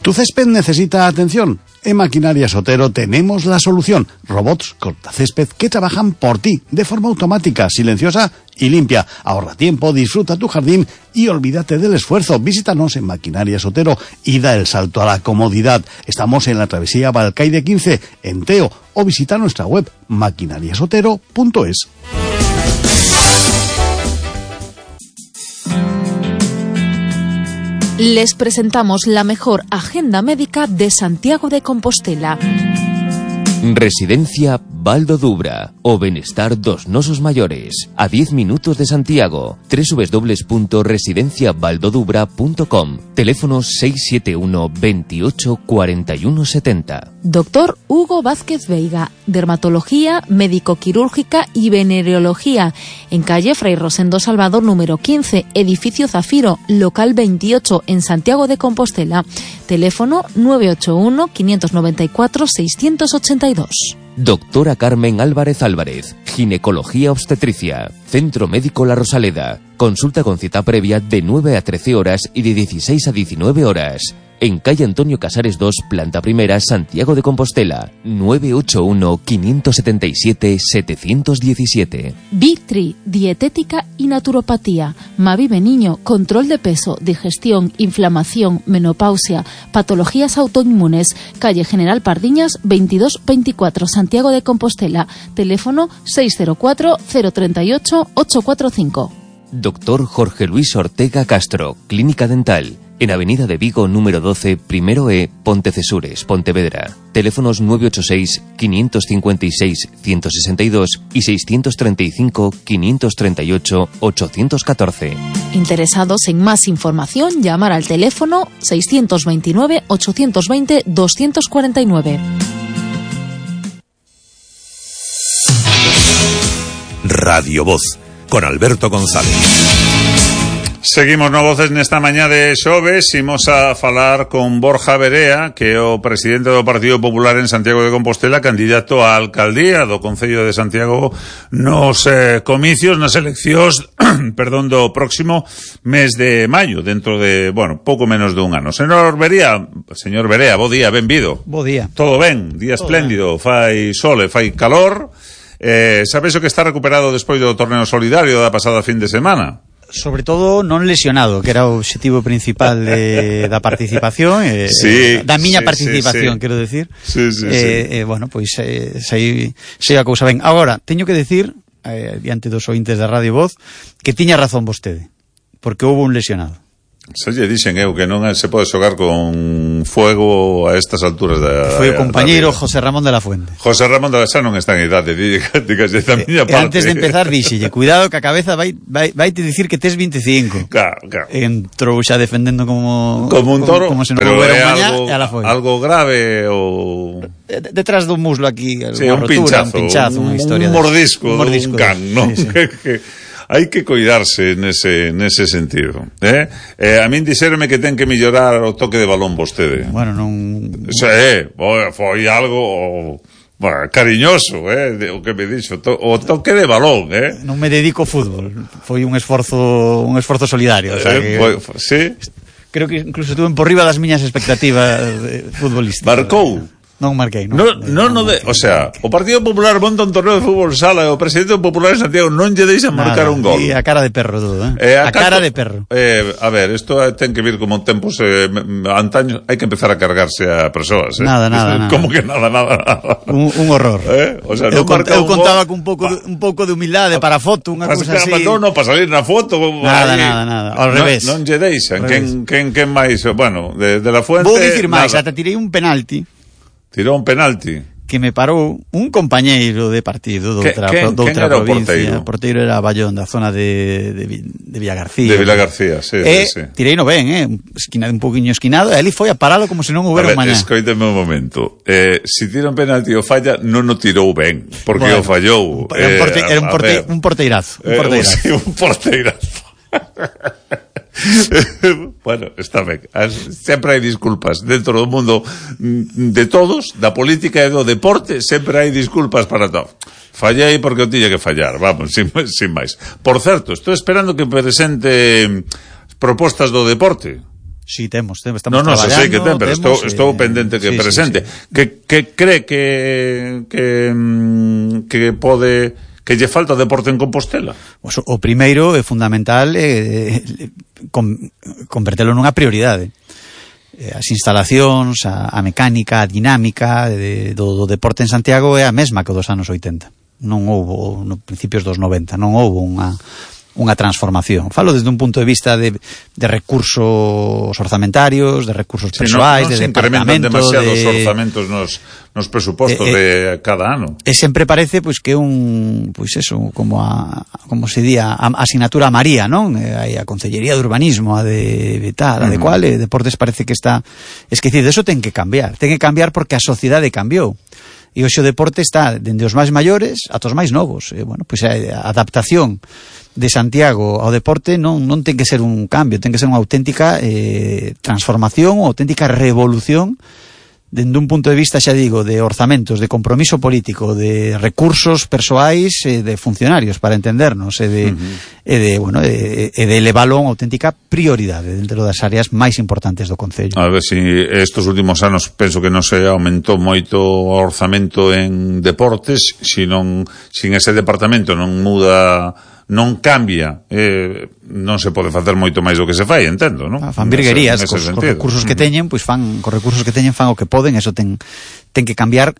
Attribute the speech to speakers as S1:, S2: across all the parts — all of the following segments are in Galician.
S1: ¿Tu césped necesita atención? En Maquinarias Otero tenemos la solución. Robots cortacésped que trabajan por ti, de forma automática, silenciosa y limpia. Ahorra tiempo, disfruta tu jardín y olvídate del esfuerzo. Visítanos en Maquinarias Otero y da el salto a la comodidad. Estamos en la travesía Balcaide 15, en Teo, o visita nuestra web maquinariasotero.es.
S2: Les presentamos la mejor agenda médica de Santiago de Compostela.
S3: Residencia Baldo Dubra o Benestar dos Nosos Mayores, a 10 minutos de Santiago. www.residenciabaldodubra.com. Teléfono 671 28 41 70.
S2: Doctor Hugo Vázquez Veiga, dermatología, médico-quirúrgica y venereología, en calle Fray Rosendo Salvador número 15, edificio Zafiro, local 28, en Santiago de Compostela. Teléfono 981 594 682.
S3: Doctora Carmen Álvarez Álvarez, ginecología obstetricia, Centro Médico La Rosaleda. Consulta con cita previa de 9 a 13 horas y de 16 a 19 horas. En calle Antonio Casares 2, planta primera, Santiago de Compostela. 981-577-717.
S2: Vitri, dietética y naturopatía. Mavive Niño, control de peso, digestión, inflamación, menopausia, patologías autoinmunes. Calle General Pardiñas 2224, Santiago de Compostela. Teléfono 604-038-845.
S3: Doctor Jorge Luis Ortega Castro, Clínica Dental. En Avenida de Vigo, número 12, Primero E, Pontecesures, Pontevedra. Teléfonos 986-556-162 y 635-538-814.
S2: Interesados en más información, llamar al teléfono 629-820-249.
S4: Radio Voz, con Alberto González.
S5: Seguimos no voces nesta mañá de xoves. Imos a falar con Borja Verea, que é o presidente do Partido Popular en Santiago de Compostela, candidato á alcaldía do Concello de Santiago nos comicios, nas eleccións do próximo mes de maio, dentro de, pouco menos de un ano. Señor Verea, bo día, benvido.
S6: Bo día.
S5: Todo ben, día espléndido, fai sol e fai calor. Sabes o que está recuperado despois do torneo solidario da pasada fin de semana?
S6: Sobre todo non lesionado, que era o objetivo principal da participación, da miña participación, quero decir. Pois sei a cousa ben. Agora, teño que decir, diante dos ointes da Radio Voz, que tiña razón vostede, porque houve un lesionado.
S5: Se lle dixen eu que non se pode xogar con fuego a estas alturas da...
S6: Foi o compañeiro José Ramón de la Fuente.
S5: José Ramón de la Fuente non está en idade, dígase da miña parte.
S6: Antes de empezar díxelle, cuidado que a cabeza vai te dicir que tes 25.
S5: Claro.
S6: Entrou xa defendendo como
S5: un toro,
S6: como se non
S5: pero
S6: houbera
S5: é
S6: mañá, e ala foi.
S5: Algo grave ou...
S6: Detrás do muslo aquí,
S5: sí, un pinchazo,
S6: unha historia.
S5: Un mordisco, un can, non?
S6: Sí.
S5: Hai que cuidarse nese sentido. A min dixéronme que ten que mellorar o toque de balón vostede.
S6: Bueno, non...
S5: Foi algo... cariñoso, o que me dixo, o toque de balón,
S6: Non me dedico ao fútbol, foi un esforzo solidario, o sea que...
S5: Sí?
S6: Creo que incluso estuve por riba das miñas expectativas futbolísticas.
S5: Marcou?
S6: Non marquei, non.
S5: O sea, o Partido Popular monta un torneo de fútbol sala e o presidente popular de Santiago non lle deixa marcar un gol.
S6: E a cara de perro todo, a cara de perro.
S5: A ver, isto ten que vir como tempos antaños, hai que empezar a cargarse a persoas,
S6: Nada.
S5: Como que nada.
S6: Un horror.
S5: O sea, eu
S6: contaba con un pouco de humildade para a foto, unha cousa así.
S5: Para salir na foto.
S6: Nada. Ao revés.
S5: Non lle deixan. Quen máis? Bueno, de la Fuente...
S6: Vou dicir máis, ata tirei un penalti.
S5: Tirou un penalti
S6: que me parou un compañeiro de partido doutra provincia. O porteiro era Ballón, da zona de Villagarcía.
S5: De Villagarcía, sí.
S6: Tirei no ben, un pouquiño esquinado, e ali foi a paralo como se non houbera un mañá.
S5: Escoíteme un momento. Se tira un penalti o falla, non o tirou ben, porque o fallou.
S6: Era un porteirazo.
S5: Un porteirazo. Bueno, está ben. Sempre hai disculpas dentro do mundo de todos, da política e do deporte, sempre hai disculpas para todo. Fallei porque o tiña que fallar, vamos, sin máis. Por certo, estou esperando que presente propostas do deporte.
S6: Sí, estamos
S5: traballando. Non, sei que ten, pero estou pendente que presente. Que cree que pode... que lle falta deporte en Compostela?
S6: O primeiro é fundamental convertelo nunha prioridade. As instalacións, a mecánica, a dinámica do deporte en Santiago é a mesma que dos anos 80. Non houbo, no principios dos 90, non houbo unha transformación. Falo desde un punto de vista de recursos orzamentarios, de recursos persoais, de departamento,
S5: demasiados orzamentos nos presupostos de cada ano.
S6: E sempre parece que como se di a asignatura a María, non? Hai a Concellería de Urbanismo, a de tal, a de cual, deportes parece que está esquecido. Eso ten que cambiar porque a sociedade cambiou. E hoxe o deporte está dende os máis maiores ata os máis novos. A adaptación de Santiago ao deporte non ten que ser un cambio, ten que ser unha auténtica transformación, unha auténtica revolución dende un punto de vista, xa digo, de orzamentos, de compromiso político, de recursos persoais, de funcionarios, para entendernos, e de elevalo a unha auténtica prioridade dentro das áreas máis importantes do Concello.
S5: A ver, si estes últimos anos penso que non se aumentou moito o orzamento en deportes, sin ese departamento non muda, non cambia, non se pode facer moito máis do que se fai, entendo, non?
S6: Fan virguerías, cos recursos que teñen, fan o que poden, eso ten que cambiar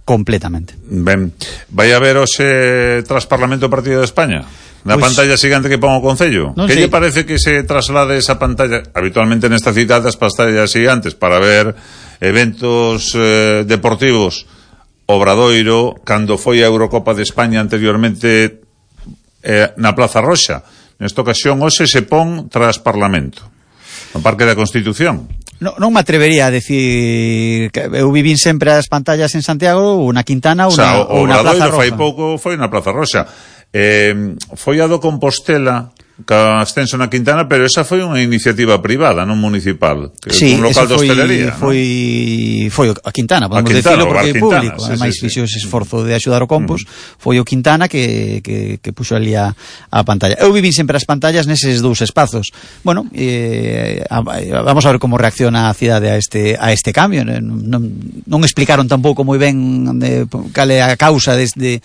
S6: completamente.
S5: Ben, vai haber hoxe tras Parlamento Partido de España? Na pantalla xigante que pon o Concello? Que lle parece que se traslade esa pantalla? Habitualmente nesta cita das pantallas xigantes para ver eventos deportivos. Obradoiro, cando foi a Eurocopa de España anteriormente na Plaza Roxa. Nesta ocasión hoxe se pon tras Parlamento, no Parque da Constitución.
S6: Non me atrevería a decir que eu vivín sempre as pantallas en Santiago ou na Quintana ou na Plaza Roxa.
S5: Fai pouco foi na Plaza Roxa. Foi a do Compostela ca ascenso na Quintana, pero esa foi unha iniciativa privada, non municipal,
S6: sí,
S5: un local de hostelería.
S6: Foi a Quintana, podemos decirlo, porque é público, ademais fixo ese esforzo de axudar o Compos, foi o Quintana que puxo ali a pantalla. Eu vivín sempre as pantallas neses dous espazos. Vamos a ver como reacciona a cidade a este cambio. Non explicaron tampouco moi ben cal é a causa de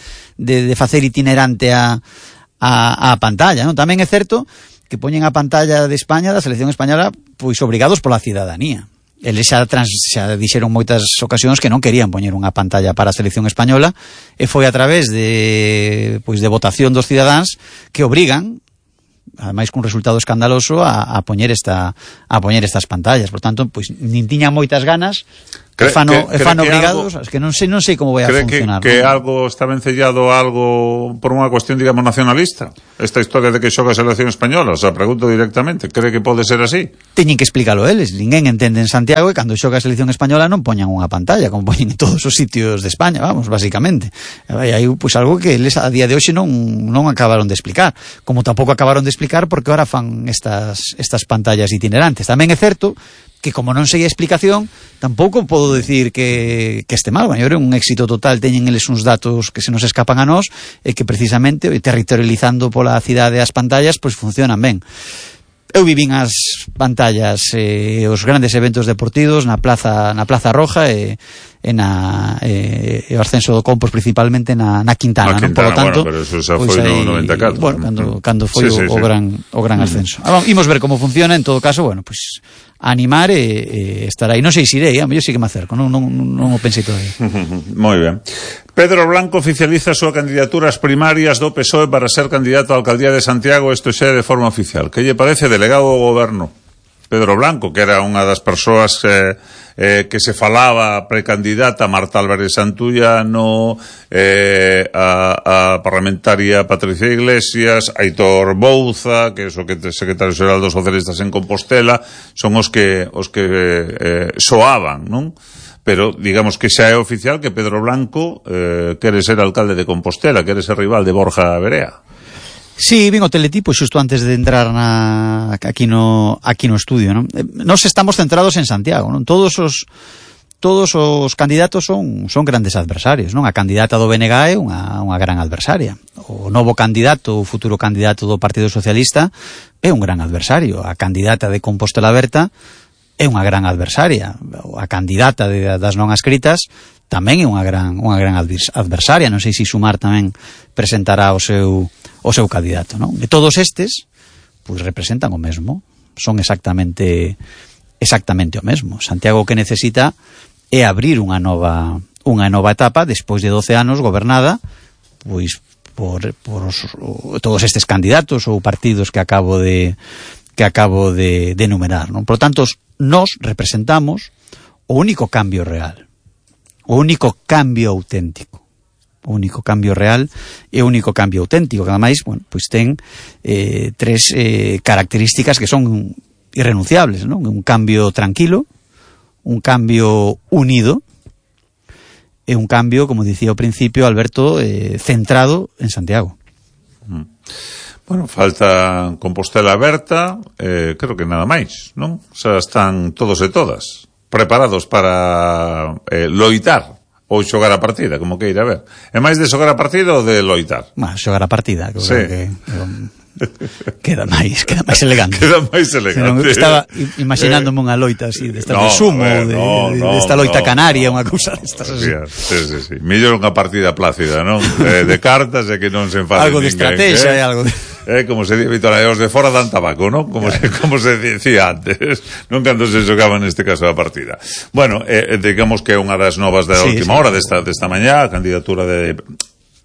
S6: facer itinerante a pantalla, non? Tamén é certo que poñen a pantalla de España, da selección española, obrigados pola cidadanía. Eles xa dixeron moitas ocasións que non querían poñer unha pantalla para a selección española, e foi a través de votación dos cidadáns que obrigan, ademais cun resultado escandaloso, a poñer estas pantallas. Por tanto, nin tiñan moitas ganas, fan obrigados, que non sei como vai a funcionar.
S5: Que algo está vencellado por unha cuestión, digamos, nacionalista? Esta historia de que xoga a selección española, pregunto directamente, cree que pode ser así?
S6: Teñen que explícalo eles, ninguén entende en Santiago que cando xoga a selección española non poñan unha pantalla, como poñen en todos os sitios de España, basicamente. Hai algo que eles a día de hoxe non acabaron de explicar, como tampouco acabaron de explicar porque ahora fan estas pantallas itinerantes. Tamén é certo que como non sei a explicación, tampouco podo decir que este mal. É un éxito total, teñen eles uns datos que se nos escapan a nós, e que precisamente territorializando pola cidade as pantallas funcionan ben. Eu vivín as pantallas os grandes eventos deportivos na Plaza Roja e o ascenso do Compos principalmente na Quintana, non? Por lo tanto,
S5: pero eso xa foi no 94.
S6: Cando foi o gran ascenso. Imos ver como funciona, en todo caso, animar e estar aí. Non sei se irei, eu sí que me acerco, non o pensei todavía.
S5: Moi ben. Pedro Blanco oficializa a súa candidatura ás primarias do PSOE para ser candidato á alcaldía de Santiago, isto xa de forma oficial. Que lle parece, delegado do goberno? Pedro Blanco, que era unha das persoas que se falaba precandidata, Marta Álvarez Santullano, a parlamentaria Patricia Iglesias, Aitor Bouza, que é o secretario xeral dos socialistas en Compostela, son os que soaban, non? Pero digamos que xa é oficial que Pedro Blanco quere ser alcalde de Compostela, quere ser rival de Borja Verea.
S6: Sí, vin o teletipo xusto antes de entrar aquí no estudio, non? Nós estamos centrados en Santiago, non? Todos todos os candidatos son grandes adversarios, non? A candidata do BNG é unha gran adversaria. O novo candidato, o futuro candidato do Partido Socialista é un gran adversario. A candidata de Compostela Aberta é unha gran adversaria. A candidata das non adscritas tamén é unha gran adversaria. Non sei se Sumar tamén presentará o seu candidato, non? E todos estes pois representan o mesmo, son exactamente o mesmo. Santiago o que necesita é abrir unha nova etapa despois de 12 anos gobernada pois por todos estes candidatos ou partidos que acabo de enumerar, non? Por tanto, nós representamos o único cambio real, o único cambio auténtico. O único cambio real e o único cambio auténtico, que ademais, bueno, pois ten tres características que son irrenunciables, non? Un cambio tranquilo, un cambio unido e un cambio, como dicía ao principio Alberto, centrado en Santiago.
S5: Bueno, falta Compostela Aberta, creo que nada máis, non? Xa están todos e todas preparados para loitar ou xogar a partida, como queira ver. É máis de xogar a partida ou de loitar?
S6: Xogar a partida, que, sí. Queda máis elegante.
S5: Queda máis elegante.
S6: Estaba imaginándome unha loita así, de sumo, desta loita canaria, unha cousa destas así.
S5: Sí. Mellor unha partida plácida, non? De cartas e que non se enfade
S6: algo de estrategia e algo de...
S5: como se di habitualmente, os de fora dan tabaco, non? Como se decía antes, non cando se xogaba neste caso a partida. Bueno, digamos que é unha das novas da última hora desta mañá, a candidatura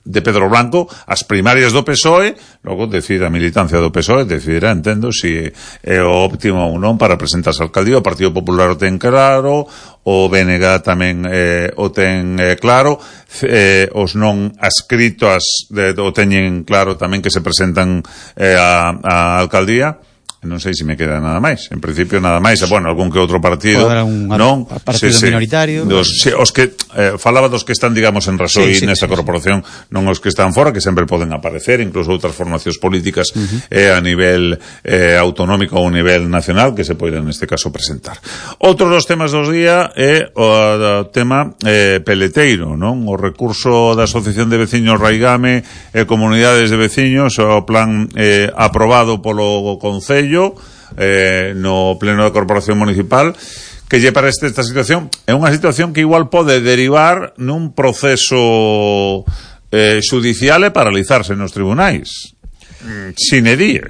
S5: de Pedro Blanco, as primarias do PSOE, logo decide a militancia do PSOE, decidirá, entendo, se é o óptimo ou non para presentarse á alcaldía. O Partido Popular o ten claro, o BNG tamén o ten claro, os non adscritos o teñen claro tamén que se presentan á alcaldía. Non sei se me queda nada máis. En principio nada máis. Bueno, algún que outro partido, non?
S6: Partido minoritario.
S5: Os que falaba dos que están, digamos, en Rasoy nesta corporación, non os que están fora, que sempre poden aparecer, incluso outras formacións políticas a nivel autonómico ou a nivel nacional que se poden neste caso presentar. Outro dos temas dos día é o tema peleteiro, non? O recurso da Asociación de Veciños Raigame e Comunidades de Veciños, o plan aprobado polo Concello no pleno da Corporación Municipal, que lle para esta situación é unha situación que igual pode derivar nun proceso xudicial e paralizarse nos tribunais sine die.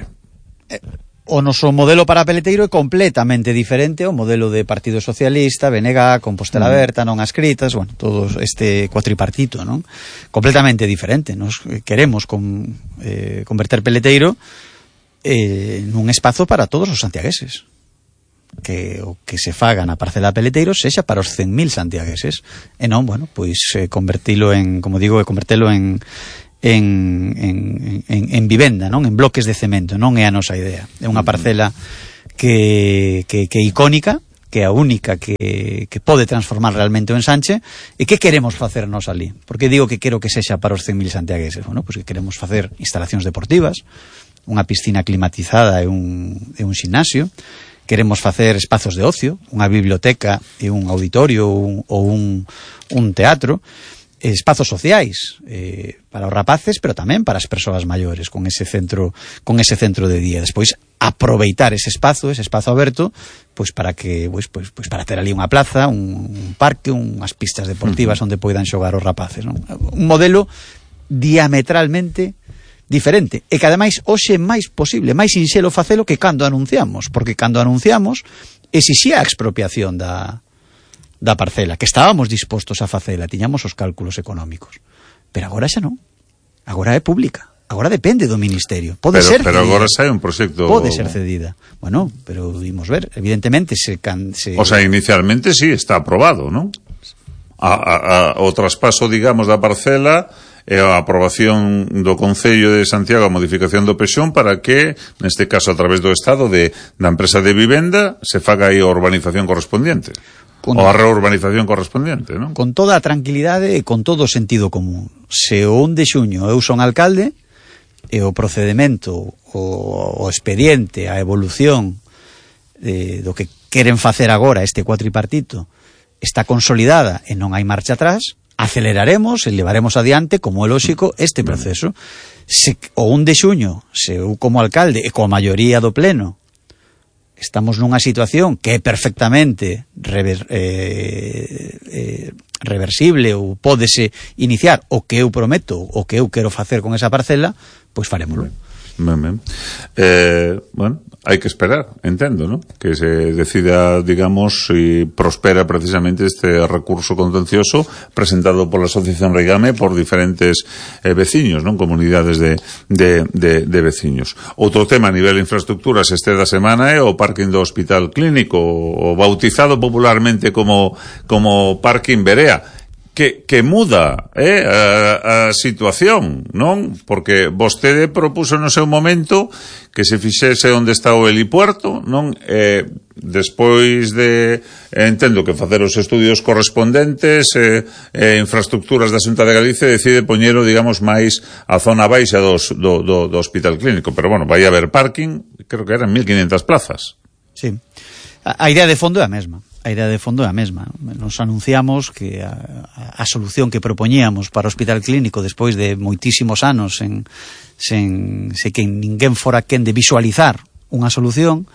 S6: O noso modelo para peleteiro é completamente diferente ao modelo de Partido Socialista, BNG, Compostela Aberta, non adscritas, bueno, todo este cuatripartito, non? Completamente diferente. Nos queremos converter peleteiro nun espazo para todos os santiagueses, que o que se faga na parcela peleteiro sexa para os 100.000 santiagueses e non, bueno, pois convertilo en, como digo, convertelo en vivenda, non? En bloques de cemento. Non é a nosa idea. É unha parcela que é icónica, que é a única que pode transformar realmente o ensanche. E que queremos facer nos ali? Porque digo que quero que sexa para os 100.000 santiagueses. Bueno, pois que queremos facer instalacións deportivas, unha piscina climatizada e un ximnasio. Queremos facer espazos de ocio, unha biblioteca e un auditorio ou un teatro, espazos sociais para os rapaces, pero tamén para as persoas maiores, con ese centro de día. Despois aproveitar ese espazo aberto, pois para que pois para ter ali unha plaza, un parque, unhas pistas deportivas onde poidan xogar os rapaces, non? Un modelo diametralmente diferente, e que ademais hoxe é máis posible, máis sinxelo facelo que cando anunciamos, porque cando anunciamos exixía a expropiación da parcela, que estábamos dispostos a facela, tiñamos os cálculos económicos, pero agora xa non, agora é pública, agora depende do Ministerio, pode ser cedida,
S5: agora sai un proxecto,
S6: pode ser cedida, bueno, pero vimos ver, evidentemente o
S5: sea, inicialmente sí, está aprobado, non? O traspaso, digamos, da parcela e a aprobación do Concello de Santiago, a modificación do PEXón, para que, neste caso a través do Estado da empresa de vivenda, se faga aí a urbanización correspondiente ou a reurbanización correspondiente, non?
S6: Con toda a tranquilidade e con todo o sentido común. Se o 1 de xuño eu son alcalde e o procedimento, o expediente, a evolución do que queren facer agora este cuatripartito está consolidada e non hai marcha atrás, aceleraremos e levaremos adiante, como é lóxico, este proceso. Se o 1 de xuño, se eu como alcalde e coa maioría do pleno estamos nunha situación que é perfectamente reversible ou pódese iniciar o que eu prometo, o que eu quero facer con esa parcela, pois farémolo.
S5: Bueno, hai que esperar, entendo, ¿no? Que se decida, digamos, si prospera precisamente este recurso contencioso presentado por la Asociación Reigame por diferentes veciños, ¿no? Comunidades de veciños. Outro tema a nivel de infraestructuras este da semana é o parking do Hospital Clínico, o bautizado popularmente como parking Berea. Que muda a situación, non? Porque vostede propuso no seu momento que se fixese onde está o helipuerto, non? Despois de, entendo que facer os estudios correspondentes, infraestructuras da Xunta de Galicia decide poñelo, digamos, máis a zona baixa do Hospital Clínico, pero bueno, vai haber parking, creo que eran 1500 plazas.
S6: Sí. A idea de fondo é a mesma. Nos anunciamos que a solución que propoñíamos para o Hospital Clínico despois de moitísimos anos sen que ninguén fora quen de visualizar unha solución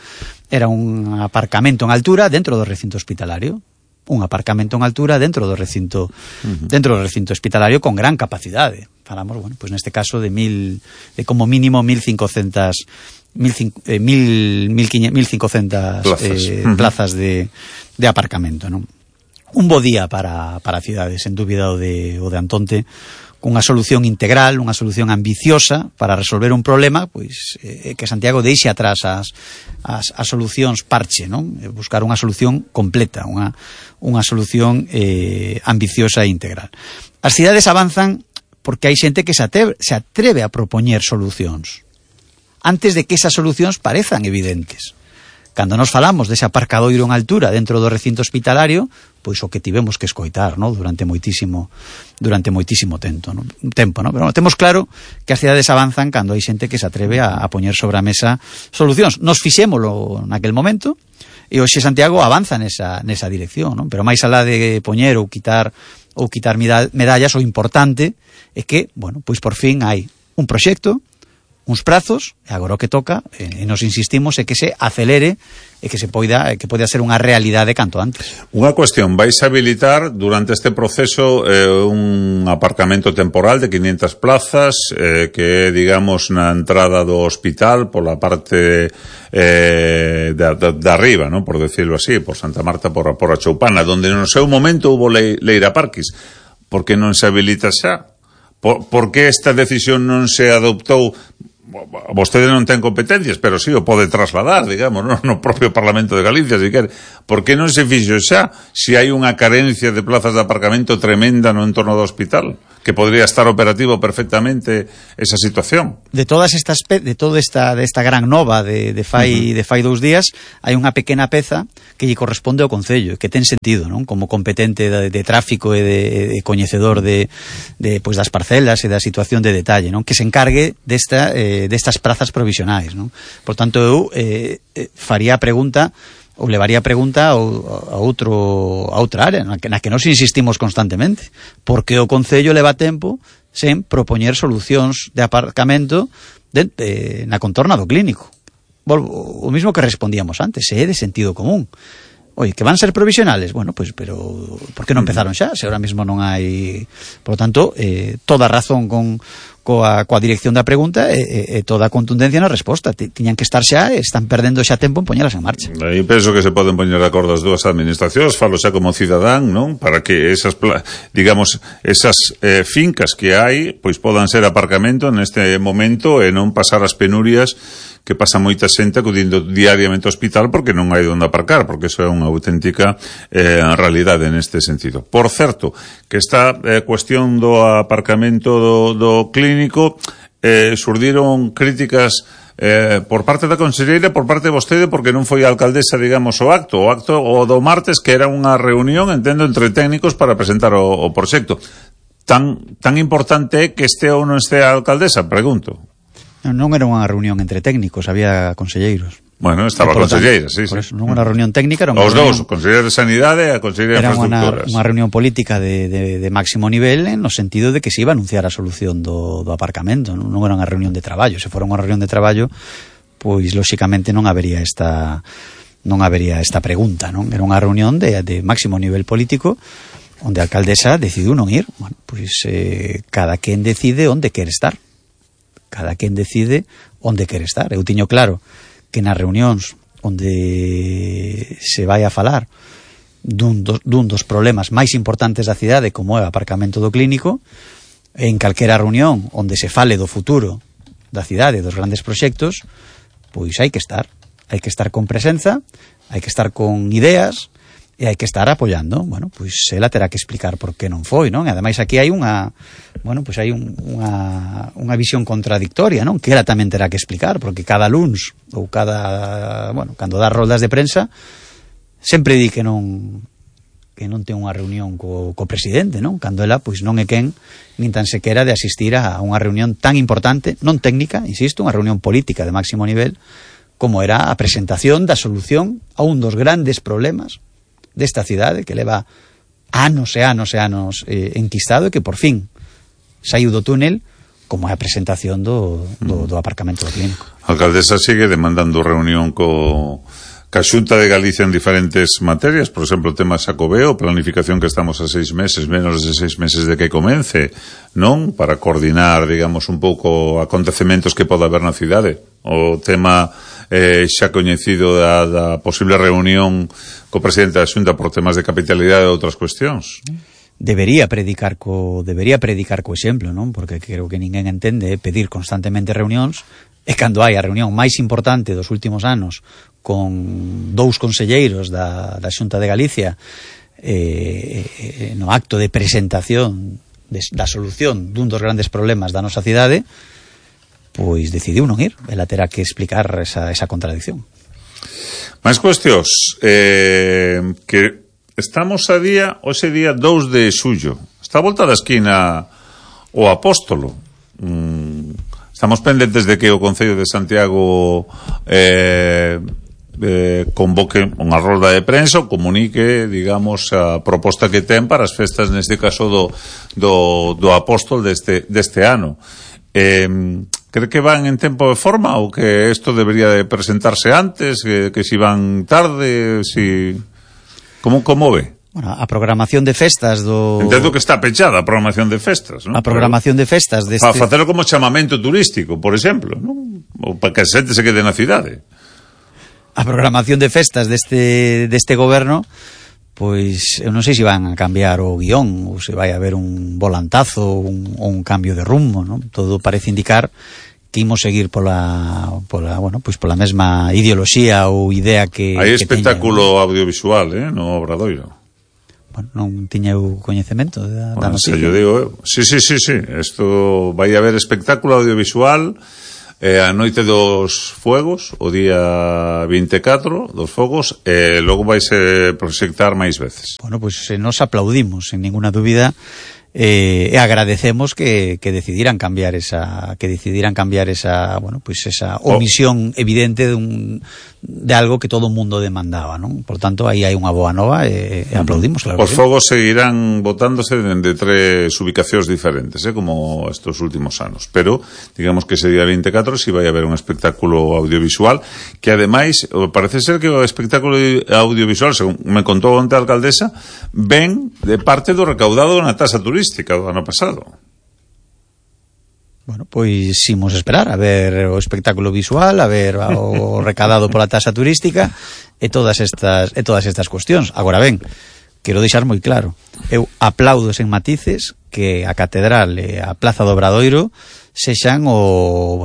S6: era un aparcamento en altura dentro do recinto hospitalario. Un aparcamento en altura dentro do recinto hospitalario con gran capacidade. Falamos, bueno, pues neste caso de como mínimo 1.500 plazas de aparcamento, non? Un bo día para a cidade, sen dúbida o de Antonte, cunha solución integral, unha solución ambiciosa para resolver un problema, pois que Santiago deixe atrás as solucións parche, non? Buscar unha solución completa, unha solución ambiciosa e integral. As cidades avanzan porque hai xente que se atreve a propoñer solucións antes de que esas solucións parezan evidentes. Cando nos falamos dese aparcadoiro en altura dentro do recinto hospitalario, pois o que tivemos que escoitar, ¿no? durante moitísimo tempo, ¿no? Pero bueno, temos claro que as cidades avanzan cando hai xente que se atreve a poñer sobre a mesa solucións. Nos fixémolo naquel momento e hoxe Santiago avanza nesa dirección, ¿no? Pero máis alá de poñer ou quitar medallas, o importante é que, bueno, pois por fin hai un proxecto, uns prazos, e agora o que toca, e nos insistimos, é que se acelere e que poida ser unha realidade canto antes.
S5: Unha cuestión, vais habilitar durante este proceso un aparcamento temporal de 500 plazas que é, digamos, na entrada do hospital pola parte de arriba, ¿no? Por decirlo así, por Santa Marta, por a Choupana, donde no seu momento hubo Leira Parquis. Por que non se habilita xa? Por que esta decisión non se adoptou? Vostede non ten competencias, pero sí o pode trasladar, digamos, no propio Parlamento de Galicia, se quer. Por que non se fixo xa, se hai unha carencia de plazas de aparcamento tremenda no entorno do hospital, que podría estar operativo perfectamente esa situación?
S6: De toda esta gran nova de fai 2 días, hai unha pequena peza que lle corresponde ao Concello, que ten sentido, non? Como competente de tráfico e de coñecedor pois das parcelas e da situación de detalle, non? Que se encargue destas prazas provisionais, non? Por tanto, eu faría a pregunta ou levaría a pregunta a outra área na que nos insistimos constantemente. Por que o Concello leva tempo sen propoñer solucións de aparcamento na contorna do clínico? O mismo que respondíamos antes, é de sentido común. Oye, que van ser provisionales, bueno, pues, pero por que non empezaron xa? Se ahora mismo non hai... Por lo tanto, toda razón coa dirección da pregunta e toda a contundencia na resposta. Tiñan que estar xa, están perdendo xa tempo en poñelas en marcha.
S5: Eu penso que se poden poñer de acordo as dúas administracións, falo xa como cidadán, non? Para que esas fincas que hai, pois podan ser aparcamento neste momento e non pasar as penurias que pasa moita xente acudindo diariamente ao hospital porque non hai onde aparcar, porque iso é unha auténtica realidade neste sentido. Por certo, que esta cuestión do aparcamento do clínico surdiron críticas por parte da conselleira, por parte de vostede, porque non foi a alcaldesa, digamos, o acto do martes, que era unha reunión, entendo, entre técnicos para presentar o proxecto. Tan importante é que este ou non este a alcaldesa, pregunto.
S6: Non era unha reunión entre técnicos, había conselleiros.
S5: Bueno, estaba a conselleira, sí.
S6: Por eso, non unha reunión técnica, era
S5: os dous, o conselleiro de Sanidade e a conselleira de Infraestructuras.
S6: Era unha reunión política de máximo nivel, no sentido de que se iba a anunciar a solución do aparcamento, non era unha reunión de traballo. Se fora unha reunión de traballo, pois lóxicamente non habería esta pregunta, non? Era unha reunión de máximo nivel político onde a alcaldesa decidiu non ir. Bueno, pois cada quen decide onde quere estar. Cada quen decide onde quere estar. Eu tiño claro que nas reunións onde se vai a falar dun dos problemas máis importantes da cidade, como é o aparcamento do Clínico, en calquera reunión onde se fale do futuro da cidade, dos grandes proxectos, pois hai que estar con presenza, hai que estar con ideas e hai que estar apoiando. Bueno, pois ela terá que explicar por que non foi, non? E ademais aquí hai unha visión contradictoria, non? Que ela tamén terá que explicar, porque cada luns ou cando dá roldas de prensa sempre di que non ten unha reunión co presidente, non? Cando ela pois non é quen nin tan sequera de asistir a unha reunión tan importante, non técnica, insisto, unha reunión política de máximo nivel, como era a presentación da solución a un dos grandes problemas desta cidade que leva anos e anos e anos enquistado e que por fin saiu do túnel, como é a presentación do aparcamento do Clínico.
S5: A alcaldesa sigue demandando reunión ca Xunta de Galicia en diferentes materias, por exemplo, o tema Xacobeo, planificación que estamos a 6 meses, menos de 6 meses de que comence, non? Para coordinar, digamos, un pouco acontecementos que poda haber na cidade. O tema xa coñecido da posible reunión co presidente da Xunta por temas de capitalidade e outras cuestións.
S6: Debería predicar co exemplo, non? Porque creo que ninguén entende pedir constantemente reunións, e cando hai a reunión máis importante dos últimos anos con 2 conselleiros da Xunta de Galicia no acto de presentación da solución dun dos grandes problemas da nosa cidade, pois decidiu non ir. Ela terá que explicar esa contradicción.
S5: Máis cuestións, que estamos hoxe día 2 de xullo. Está a volta da esquina o Apóstolo. Estamos pendentes de que o Concello de Santiago convoque unha rolda de prensa ou comunique, digamos, a proposta que ten para as festas, neste caso do Apóstol deste ano. Cree que van en tempo de forma ou que isto debería de presentarse antes, que si van tarde, si... Como ve?
S6: Bueno, a programación de festas
S5: Entendo que está pechada a programación de festas, non?
S6: A programación de festas
S5: para facelo como chamamento turístico, por exemplo, non? Ou para que a xente se quede na cidade.
S6: A programación de festas deste goberno, pois eu non sei se van a cambiar o guión ou se vai haber un volantazo ou un cambio de rumbo, non? Todo parece indicar que imos seguir pola mesma ideoloxía ou idea que
S5: hai espectáculo audiovisual, no Obradoiro.
S6: Bueno, non tiña o coñecemento da noticia.
S5: Yo digo, sí. Isto vai haber espectáculo audiovisual a noite dos fogos, o día 24 dos fogos, e logo vaise proxectar máis veces.
S6: Bueno, pois nos aplaudimos, sen ninguna dúbida, e agradecemos que decidiran cambiar esa omisión evidente de algo que todo o mundo demandaba, non? Por tanto, aí hai unha boa nova e aplaudimos, claro.
S5: Os fogos seguirán botándose dende 3 ubicacións diferentes, como estos últimos anos, pero digamos que ese día 24 si vai haber un espectáculo audiovisual que ademais parece ser que o espectáculo audiovisual, según me contou onte a alcaldesa, ven de parte do recaudado na tasa turística do ano pasado.
S6: Bueno, pois imos esperar a ver o espectáculo visual, a ver o recadado pola tasa turística e todas estas cuestións. Agora ben, quero deixar moi claro, eu aplaudo sen matices que a Catedral e a Plaza do Obradoiro sexan o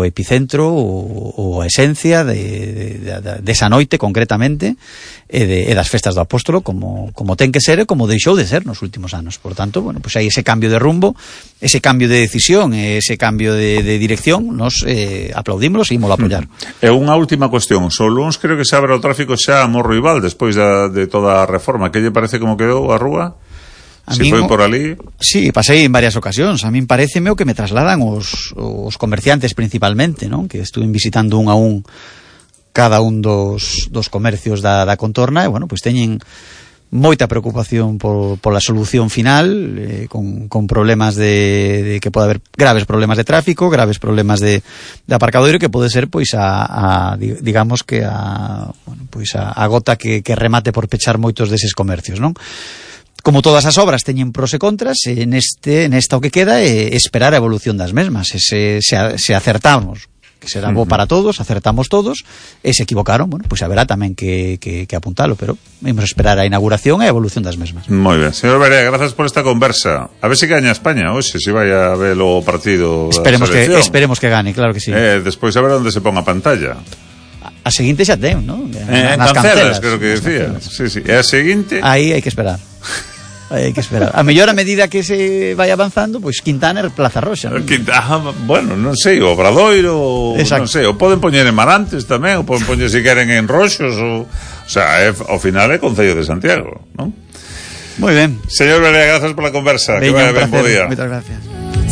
S6: epicentro ou a esencia desa noite concretamente e das festas do Apóstolo como ten que ser e como deixou de ser nos últimos anos. Por tanto, hai ese cambio de rumbo, ese cambio de decisión, ese cambio de dirección, nos aplaudímoslo e ímolo a apoiar.
S5: E unha última cuestión, o luns creo que se abre o tráfico xa a Morro Ival despois de toda a reforma. Que lle parece como quedou a rúa? Si foi por ali?
S6: Sí, pasei en varias ocasións. A min pareceme o que me trasladan os comerciantes principalmente, non? Que estuve visitando un a un cada un dos comercios da contorna, e, bueno, pois teñen moita preocupación pola solución final, con problemas de que pode haber graves problemas de tráfico, graves problemas de aparcadoiro, que pode ser pois digamos que a gota que remate por pechar moitos deses comercios, non? Como todas as obras teñen pros e contras, nesta o que queda é esperar a evolución das mesmas. Se acertamos, que será bo para todos, acertamos todos, e se equivocaron, bueno, pois haberá tamén que apuntalo, pero vamos a esperar a inauguración e a evolución das mesmas.
S5: Moi ben, señor Berea, grazas por esta conversa. A ver se gaña España hoxe, se vai a ver o partido da selección.
S6: Esperemos que gane, claro que sí.
S5: Despois a ver onde se pon a pantalla.
S6: A seguinte xa ten, non?
S5: En Cancelas, creo que decía. Sí, e a seguinte...
S6: Aí hai que esperar. Hai que esperar. A mellor a medida que se vai avanzando, pois Quintana e Plaza Roxa, non?
S5: Bueno, non sei, o Obradoiro, non sei, o poden poñer en Marantes tamén, o poden poñer se queren en Roxos, o sea, ao final é Concello de Santiago, non?
S6: Moi ben.
S5: Señor Berea, grazas pola conversa. Que vaya ben, bo día.
S6: Moitas gracias.